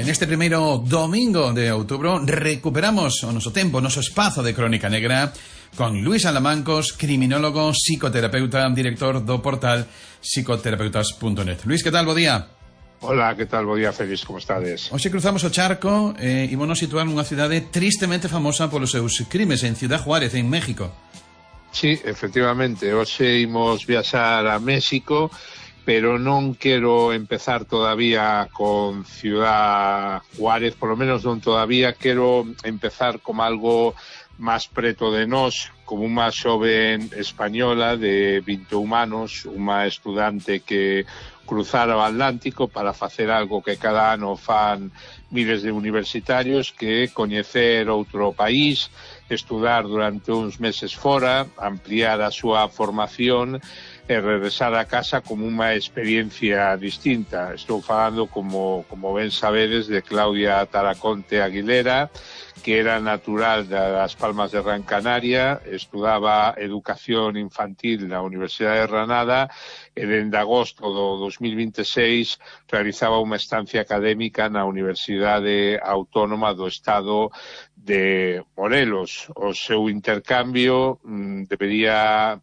En este primeiro domingo de outubro recuperamos o noso tempo, o noso espazo de Crónica Negra con Luís Alamancos, criminólogo, psicoterapeuta, director do portal psicoterapeutas.net. Luís, que tal? Bo día. Hola, que tal? Bo día, Félix, como estades? Hoxe cruzamos o charco e ímonos situar nunha cidade tristemente famosa polos seus crimes, en Ciudad Juárez, en México. Sí, efectivamente, hoxe imos viaxar a México, pero non quero empezar todavía con Ciudad Juárez, por lo menos non todavía, quero empezar como algo máis preto de nós, como unha xoven española de 21 anos, unha estudante que cruzara o Atlántico para facer algo que cada ano fan miles de universitarios, que é coñecer outro país, estudar durante uns meses fora, ampliar a súa formación e regresar a casa como unha experiencia distinta. Estou falando, como ben sabedes, de Claudia Taraconte Aguilera, que era natural das Palmas de Gran Canaria, estudaba educación infantil na Universidade de Granada e dende agosto do 2026 realizaba unha estancia académica na Universidade Autónoma do Estado de Morelos. O seu intercambio debería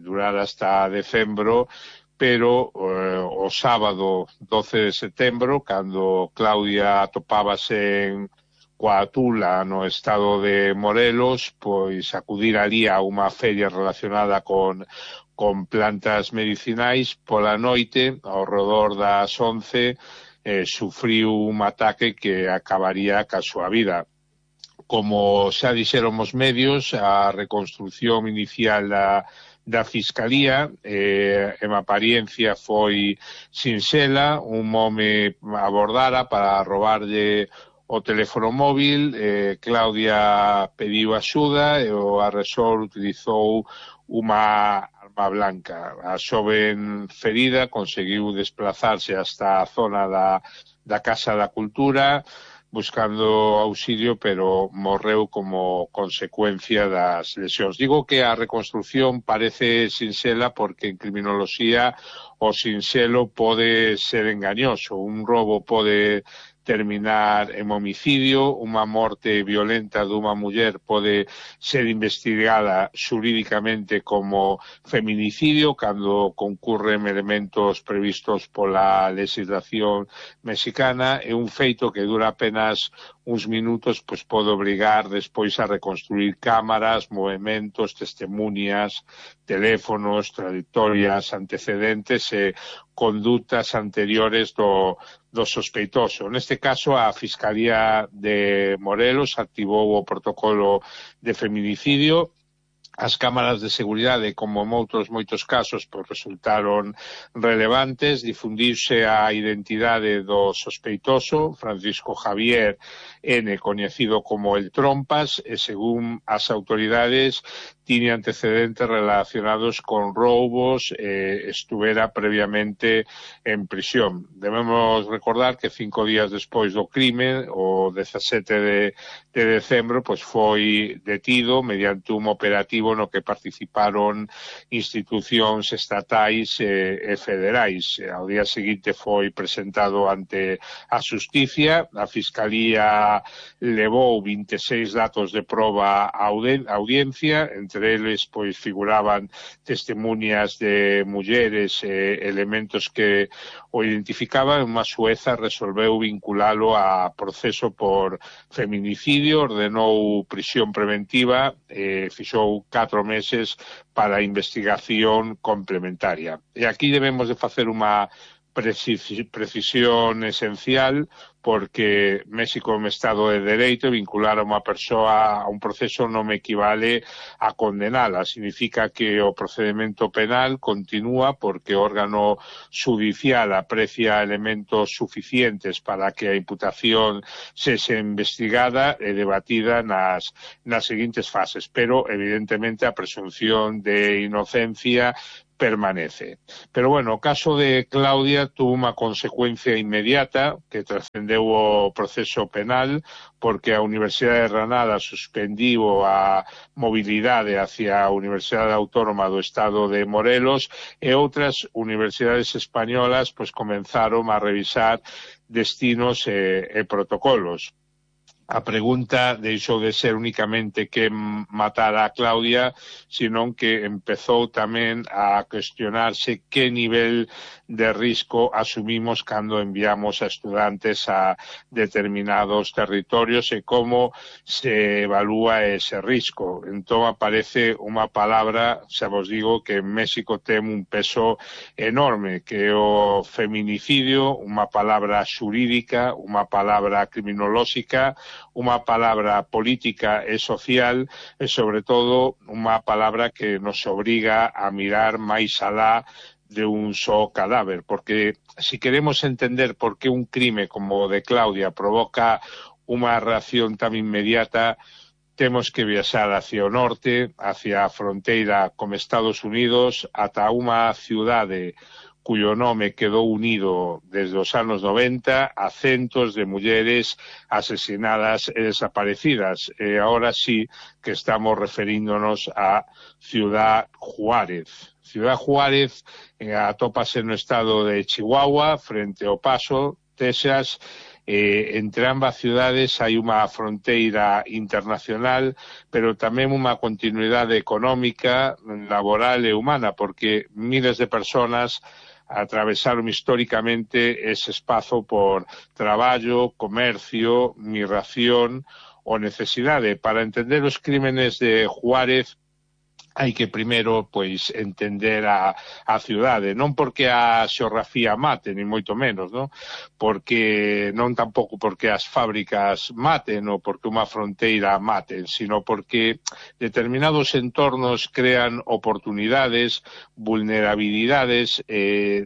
durar hasta decembro, pero o sábado 12 de setembro, cando Claudia atopábase en Coatula, no estado de Morelos, pois acudir ali a unha feria relacionada con plantas medicinais. Pola noite, ao redor das 11, sufriu un ataque que acabaría ca súa vida. Como xa dixeron os medios, a reconstrucción inicial da Fiscalía en apariencia foi sinxela. Un home abordara para robarlle o teléfono móvil, Claudia pediu axuda e o agresor utilizou unha arma blanca. A xoven ferida conseguiu desplazarse hasta a zona da Casa da Cultura buscando auxilio, pero morreu como consecuencia das lesións. Digo que a reconstrucción parece sinxela porque en criminoloxía o sinxelo pode ser engañoso. Un robo pode terminar en homicidio, unha morte violenta dunha muller pode ser investigada xurídicamente como feminicidio cando concurren elementos previstos pola legislación mexicana, e un feito que dura apenas uns minutos pois pode obrigar despois a reconstruir cámaras, movementos, testemunias, teléfonos, trayectorias, antecedentes e condutas anteriores do sospeitoso. Neste caso, a Fiscalía de Morelos activou o protocolo de feminicidio. As cámaras de seguridade, como en outros moitos casos, resultaron relevantes. Difundiuse a identidade do sospeitoso, Francisco Javier N., coñecido como el Trompas, e según as autoridades tiña antecedentes relacionados con roubos e estuvera previamente en prisión. Debemos recordar que 5 días despois do crime, o 17 de decembro, foi detido mediante un operativo no que participaron institucións estatais e federais. Ao día seguinte foi presentado ante a Xusticia. A Fiscalía levou 26 datos de proba á audiencia, entre eles figuraban testemunias de mulleres e elementos que o identificaban. Unha xueza resolveu vinculalo a proceso por feminicidio, ordenou prisión preventiva e fixou 4 meses para a investigación complementaria. E aquí debemos de facer unha precisión esencial, porque México é un estado de dereito e vincular a unha persoa a un proceso non me equivale a condenala. Significa que o procedimento penal continúa porque o órgano judicial aprecia elementos suficientes para que a imputación sexa investigada e debatida nas seguintes fases, pero evidentemente a presunción de inocencia permanece. Pero bueno, o caso de Claudia tuvo unha consecuencia inmediata que trascendeu o proceso penal, porque a Universidade de Granada suspendiu a mobilidade hacia a Universidade Autónoma do Estado de Morelos, e outras universidades españolas comenzaron a revisar destinos e protocolos. A pregunta deixou de ser únicamente que matara a Claudia, sino que empezou tamén a cuestionarse que nivel de risco asumimos cando enviamos a estudantes a determinados territorios e como se evalúa ese risco. Entón aparece unha palabra, xa vos digo, que en México ten un peso enorme, que é o feminicidio, unha palabra xurídica, unha palabra criminolóxica, unha palabra política e social e, sobre todo, unha palabra que nos obriga a mirar máis alá de un só cadáver, porque si queremos entender por que un crime como o de Claudia provoca unha reacción tan inmediata, temos que viaxar hacia o norte, hacia a fronteira con Estados Unidos, ata unha ciudade cuyo nome quedou unido desde os anos 90 a centos de mulleres asesinadas e desaparecidas. E agora sí que estamos referíndonos a Ciudad Juárez. Ciudad Juárez atópase no estado de Chihuahua, frente ao Paso, Texas. Entre ambas ciudades hai unha fronteira internacional, pero tamén unha continuidade económica, laboral e humana, porque miles de personas atravesaron históricamente ese espazo por traballo, comercio, migración ou necesidade. Para entender os crímenes de Juárez hai que primeiro pois entender a ciudade, non porque a xeografía mate, ni moito menos, non? Porque non tampouco porque as fábricas maten ou porque unha fronteira maten, sino porque determinados entornos crean oportunidades, vulnerabilidades,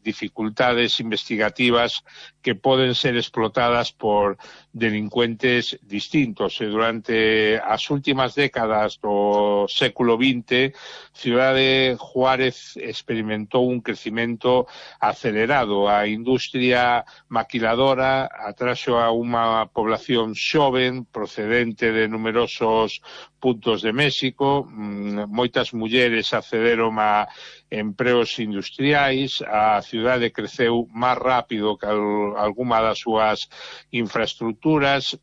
dificultades investigativas que poden ser explotadas por delincuentes distintos. E durante as últimas décadas do século XX, Ciudad Juárez experimentou un crecimento acelerado. A industria maquiladora atraxo a unha población xoven procedente de numerosos puntos de México. Moitas mulleres accederon a empregos industriais. A cidade creceu máis rápido que algunha das súas infraestructuras.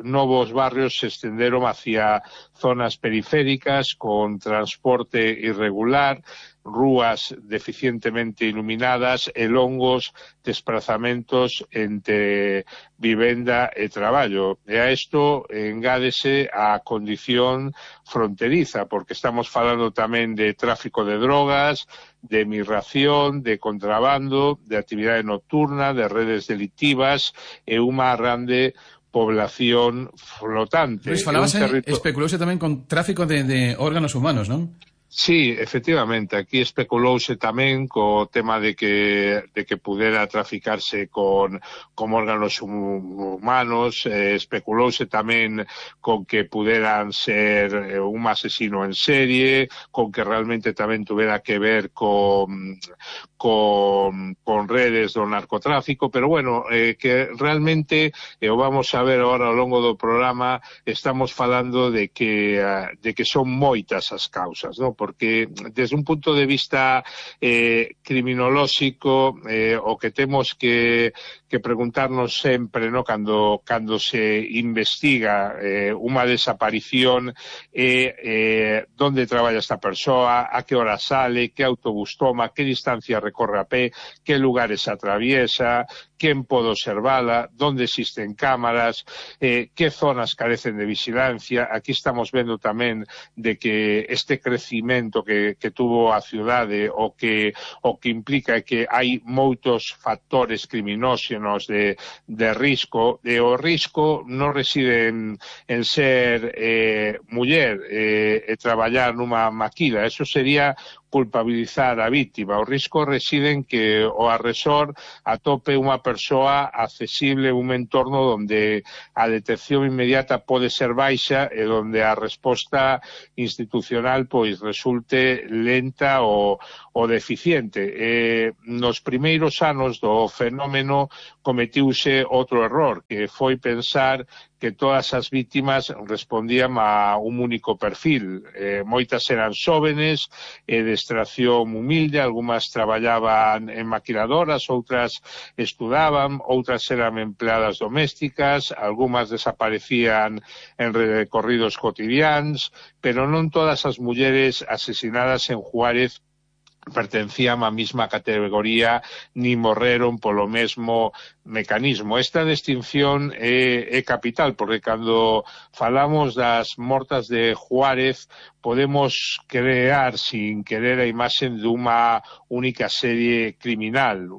Novos barrios se estenderon hacia zonas periféricas con transporte irregular, rúas deficientemente iluminadas e longos desplazamentos entre vivenda e traballo. E a isto engádese a condición fronteriza, porque estamos falando tamén de tráfico de drogas, de migración, de contrabando, de actividade nocturna, de redes delictivas e unha grande población flotante. Luis, especulouse tamén con tráfico de órganos humanos, non? Sí, efectivamente, aquí especulouse tamén co tema de que pudera traficarse con órganos humanos, especulouse tamén con que puderan ser un asesino en serie, con que realmente tamén tuvera que ver con redes do narcotráfico, pero bueno, que realmente, o vamos a ver agora ao longo do programa, estamos falando de que son moitas as causas, non? Porque desde un punto de vista criminolóxico, o que temos que preguntarnos sempre, no, cando se investiga unha desaparición, onde traballa esta persoa, a que hora sale, que autobús toma, que distancia recorre a pé, que lugares atraviesa, quen pode observala, onde existen cámaras, que zonas carecen de vigilancia. Aquí estamos vendo tamén de que este crecimento que tuvo a ciudade o que implica que hai moitos factores criminóxenos de risco, e o risco non reside en ser muller e traballar nunha maquila. Eso sería culpabilizar a víctima. O risco reside en que o agresor atope unha persoa accesible, un entorno onde a detección inmediata pode ser baixa e onde a resposta institucional pois resulte lenta ou deficiente. Nos primeiros anos do fenómeno cometiuse outro error, que foi pensar que todas as vítimas respondían a un único perfil. Moitas eran xóvenes, de extracción humilde, algunhas traballaban en maquiladoras, outras estudaban, outras eran empleadas domésticas, algunhas desaparecían en recorridos cotidianos, pero non todas as mulleres asesinadas en Juárez pertencían á mesma categoría ni morreron polo mesmo mecanismo. Esta distinción é capital, porque cando falamos das mortas de Juárez podemos crear sin querer a imaxe dunha única serie criminal,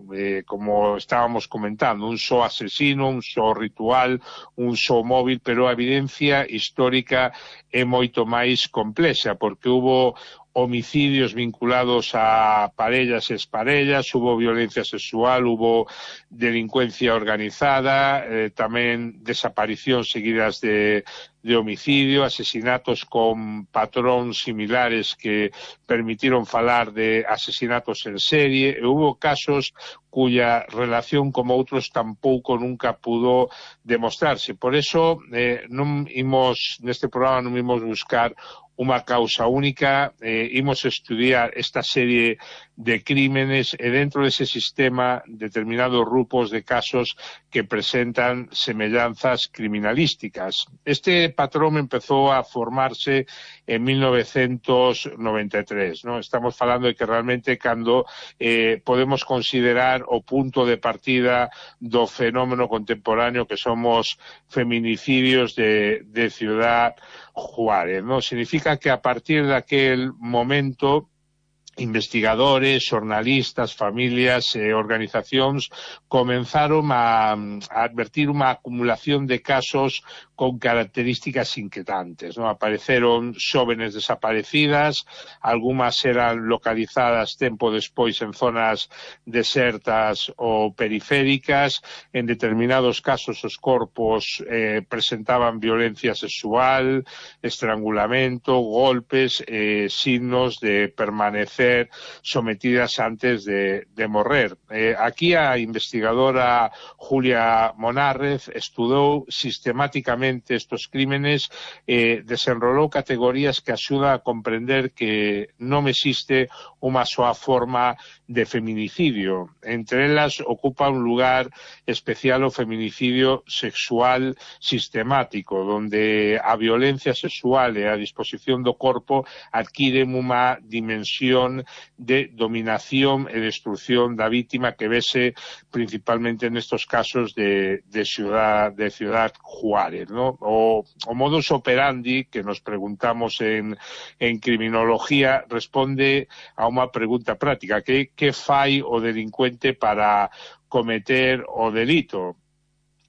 como estábamos comentando, un só asesino, un só ritual, un só móvil, pero a evidencia histórica é moito máis complexa, porque hubo homicidios vinculados a parellas e exparellas, hubo violencia sexual, hubo delincuencia organizada, tamén desaparicións seguidas de homicidio, asesinatos con patróns similares que permitiron falar de asesinatos en serie, e hubo casos cuya relación como outros tampouco nunca pudo demostrarse. Por eso, neste programa non imos buscar unha causa única, imos estudiar esta serie de crímenes e dentro dese sistema determinados grupos de casos que presentan semellanzas criminalísticas. Este patrón empezou a formarse en 1993, ¿no? Estamos falando de que realmente cando podemos considerar o punto de partida do fenómeno contemporáneo que somos feminicidios de Ciudad Juárez, ¿no? Significa que a partir de aquel momento investigadores, xornalistas, familias e organizacións comenzaron a advertir unha acumulación de casos con características inquietantes, ¿no? Apareceron xóvenes desaparecidas, algunhas eran localizadas tempo despois en zonas desertas ou periféricas, en determinados casos os corpos presentaban violencia sexual, estrangulamento, golpes, signos de permanecer sometidas antes de morrer. Aquí a investigadora Julia Monárrez estudou sistemáticamente estos crímenes, desenrolou categorías que axudan a comprender que non existe unha soa forma de feminicidio. Entre elas ocupa un lugar especial o feminicidio sexual sistemático, donde a violencia sexual e a disposición do corpo adquiren unha dimensión de dominación e destrucción da vítima que vese principalmente nestos casos de Ciudad Juárez, ¿no? O modus operandi que nos preguntamos en criminología responde a unha pregunta práctica: que fai o delincuente para cometer o delito?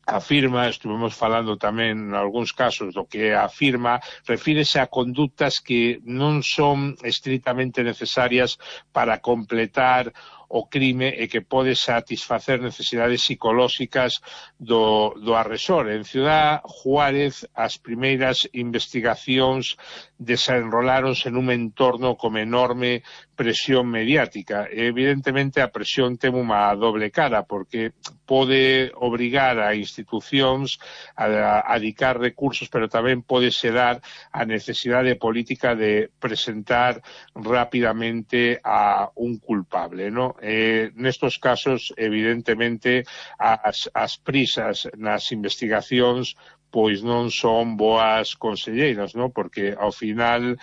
Afirma, estuvemos falando tamén en algúns casos do que afirma, refírese a conductas que non son estritamente necesarias para completar o crime e que pode satisfacer necesidades psicolóxicas do agresor. En Ciudad Juárez as primeiras investigacións desenroláronse nun entorno con enorme presión mediática. Evidentemente a presión ten unha doble cara, porque pode obrigar a institucións a dedicar recursos, pero tamén pode xerar a necesidade política de presentar rapidamente a un culpable, ¿no? Nestos casos, evidentemente, as prisas nas investigacións pois non son boas conselleiras, ¿no? Porque ao final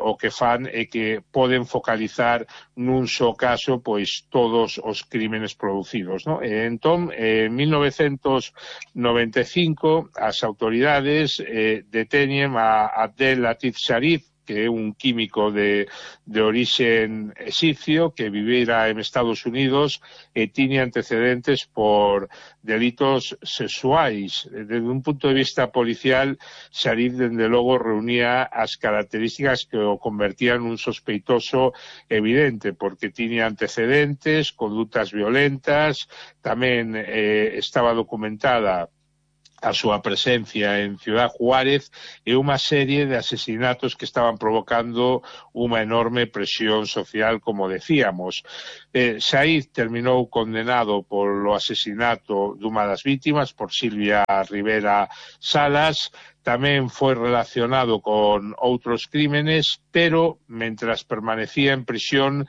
o que fan é que poden focalizar nun só caso pois todos os crímenes producidos, ¿no? Entón, en 1995 as autoridades deteñen a Abdel Latif Sharif, que é un químico de orixen exipcio que vivira en Estados Unidos e tiña antecedentes por delitos sexuais. Desde un punto de vista policial, Sharif, dende logo, reunía as características que o convertían nun sospeitoso evidente, porque tiña antecedentes, condutas violentas, tamén estaba documentada a súa presencia en Ciudad Juárez e unha serie de asesinatos que estaban provocando unha enorme presión social, como decíamos. Saiz terminou condenado polo asesinato dunha das vítimas, por Silvia Rivera Salas. Tamén foi relacionado con outros crímenes, pero mentras permanecía en prisión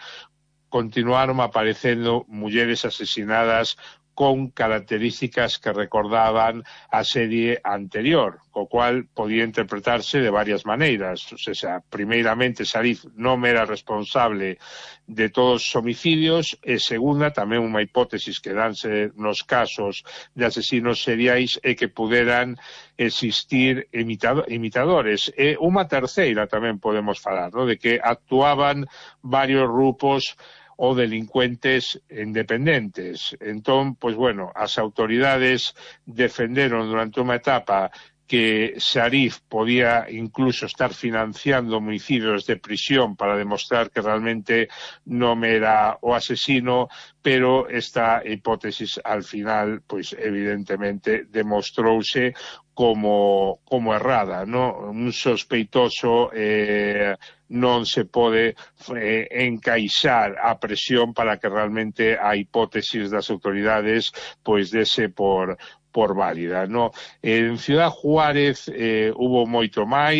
continuaron aparecendo mulleres asesinadas con características que recordaban a serie anterior, co cual podía interpretarse de varias maneiras. O sea, primeiramente, Saiz non era responsable de todos os homicidios, e segunda, tamén unha hipótesis que danse nos casos de asesinos seriais é que puderan existir imitadores. E unha terceira tamén podemos falar, ¿no?, de que actuaban varios grupos ou delincuentes independentes. Entón, pois bueno, as autoridades defenderon durante unha etapa que Sharif podía incluso estar financiando homicidios de prisión para demostrar que realmente non era o asesino, pero esta hipótesis al final, pois evidentemente, demostrouse como errada, ¿no? Un sospeitoso non se pode encaixar a presión para que realmente a hipótesis das autoridades pois dese por válida, ¿no? En Ciudad Juárez hubo moito máis.